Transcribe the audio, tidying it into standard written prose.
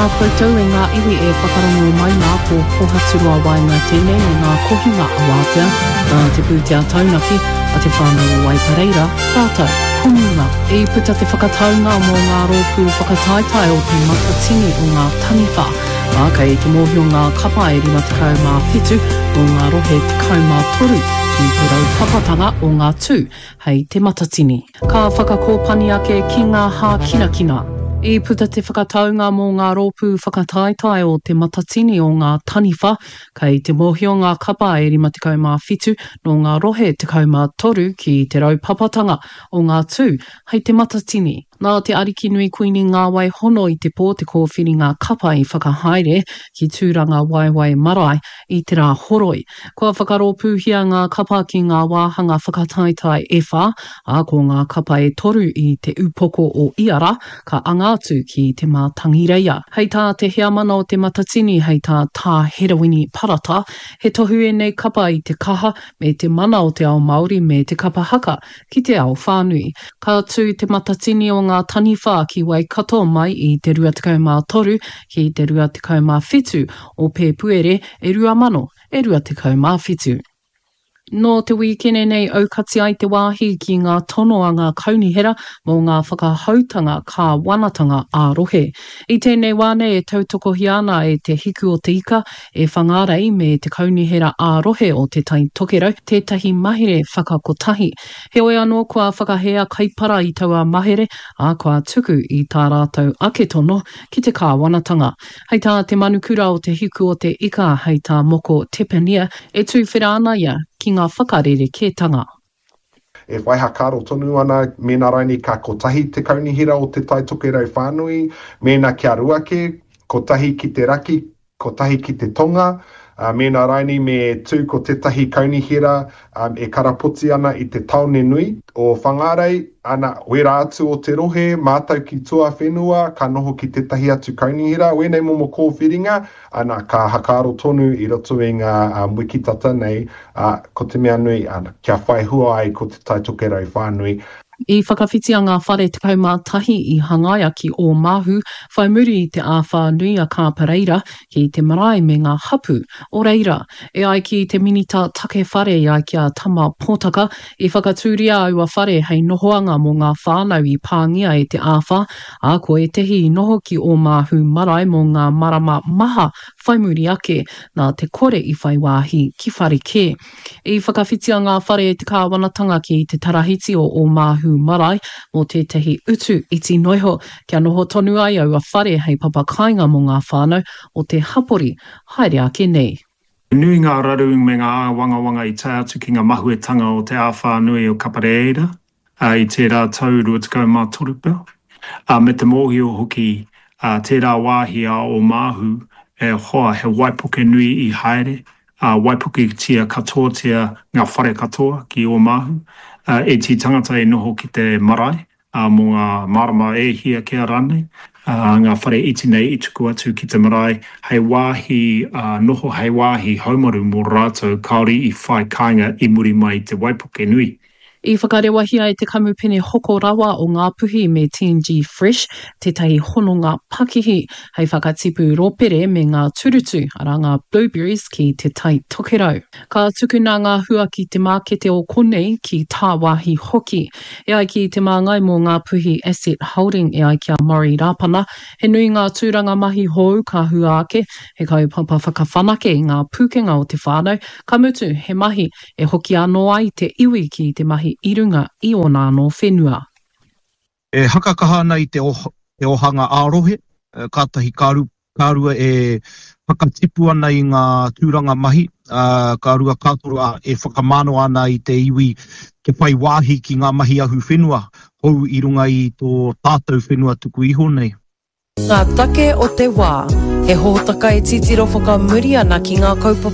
Tēnā koutou e ngā iwi e whakarongo mai nā ko Pohaturoa Waenga tēnei me ngā kohinga awātea nā te pūtea taunaki a Te Whānau o Waipareira rātou ko Munga. I puta te whakataunga mō ngā rōpū whakataetae o Te Matatini o Ngā Taniwha, ā, kei te mōhio ngā kapa e 57 nō ngā rohe 13 ki te raupapatanga o ngā tū hei Te Matatini. Ka whakakōpani ake ki ngā hākinakina. I puta te whakataunga mō ngā rōpū whakataetae o Te Matatini o Ngā Taniwha, kei te mōhio ngā kapa e 57 nō ngā rohe 13 ki te raupapatanga o ngā tū hei Te Matatini. Nā Te Arikinui Kuini Ngāwai Hono i te pō te kōwhiringa kapa i whakahaere ki Tūrangawaewae Marae i te Rāhoroi. Kua whakarōpūhia ngā kapa ki ngā wāhanga whakataetae e whā, ā, ko ngā kapa e toru i te upoko o ia rā, ka anga atu ki Te Mātangireia. Hei tā te heamana o Te Matatini, hei tā Tā Herewini Parata, he tohu ēnei kapa i te kaha me te mana o te ao Māori me te kapa haka ki te ao whānui. Ka tū Te Matatini o Ngā Taniwha ki Waikato mai i te 23 ki te 27 o Pēpuere e 2027. Nō te wīkene nei aukati ai te wāhi ki ngā tono a ngā kaunihera mō ngā whakahoutanga kāwanatanga ā-rohe. I tēnei wā nei e tautokohia ana e Te Hiku o Te Ika, e Whangārei me te Kaunihera ā-Rohe o Te Tai Tokerau tētahi mahere whakakotahi. Heoi anō kua whakahē a Kaipara i taua mahere, ā, kua tuku i tā rātou ake tono ki te kāwanatanga. Hei tā te manukura o Te Hiku o Te Ika, hei tā Moko Tepania, e tūwhera ana ia ki ngā whakarerekētanga. E whai hakaaro tonu ana mēnā rainī ka kotahi te kaunihera o Te Tai Tokerau whānui, mēnā kia ruake, kotahi ki te raki, kotahi ki te tonga, ā, mēnā rainī me tū ko tētahi kaunihera e karapoti ana i te tāone nui o Whangārei, ana, wērā atu o te rohe, mātau ki tuawhenua, ka noho ki tētahi atu kaunihera, wēnei momo kōwhiringa, ana, ka hakaaro tonu i roto i ngā wiki tata nei, ā, ko te mea nui, ana, kia whai hua ai ko Te Tai Tokerau whānui. I whakawhitia ngā whare 11 i hangaia ki Ōmāhu whai muri i te āwhā nui a Kāpareira ki te marae me ngā hapū o reira. E ai ki te Minita Take Whare i ai ki a Tama Potaka, i whakatūria aua whare hei nohoanga mō ngā whānau i pāngia e te āwhā, ā, ko ētehi i noho ki Ōmāhu marae mō ngā marama maha whai muri ake, nā te kore i whai wāhi ki whare kē. I whakawhitia ngā whare e te kāwanatanga ki te tarahiti o Ōmāhu Marae mō tētahi utu iti noiho, kia noho tonu ai aua whare hei papa kāinga mō ngā whānau o te hapori haere ake nei. He nui ngā raru me ngā āwangawanga i tae atu ki ngā mahuetanga o te āwhā nui o Kapareira i tērā tau 23 pea, ā, me te mōhio hoki tērā wāhi a Ōmāhu e hoa he waipuke nui i haere, ā, waipuketia katoatia ngā whare katoa ki Ōmāhu, ā, ētehi tangata i noho ki te marae, ā, mō ngā marama e hia kea rānei, ā, ngā whare iti nei i tuku atu ki te marae hei wāhi noho, hei wāhi haumaru mō rātou kāore i whai kāinga i muri mai i te waipuke nui. I whakarewahia e te kamupene hoko rawa o Ngāpuhi me TNG Fresh tētahi hononga pakihi hei whakatipu rōpere me ngā turutu, arā ngā blueberries ki Te Tai Tokerau. Ka tukuna ngā hua ki te mākete o konei, ki tāwāhi hoki. E ai ki te māngai mō Ngāpuhi Asset Holding e ai ki a Murray Rāpana, he nui ngā tūranga mahi hou ka hua ake, he kaupapa whakawhanake i ngā pūkenga o te whānau, ka mutu he mahi E hoki anō ai te iwi ki te mahi i runga i ōna anō whenua. E hakakaha ana i te ohanga ā-rohe, kātahi ka rua e whakatipu ana i ngā tūranga mahi, ka rua ka toru e whakamānawa ana i te iwi kia whai wāhi ki ngā mahi ahuwhenua hou i runga i tō tātou whenua tuku iho nei. Ngā take o te wā. He hōtaka e titiro whakamuri ana ki ngā kaupapa.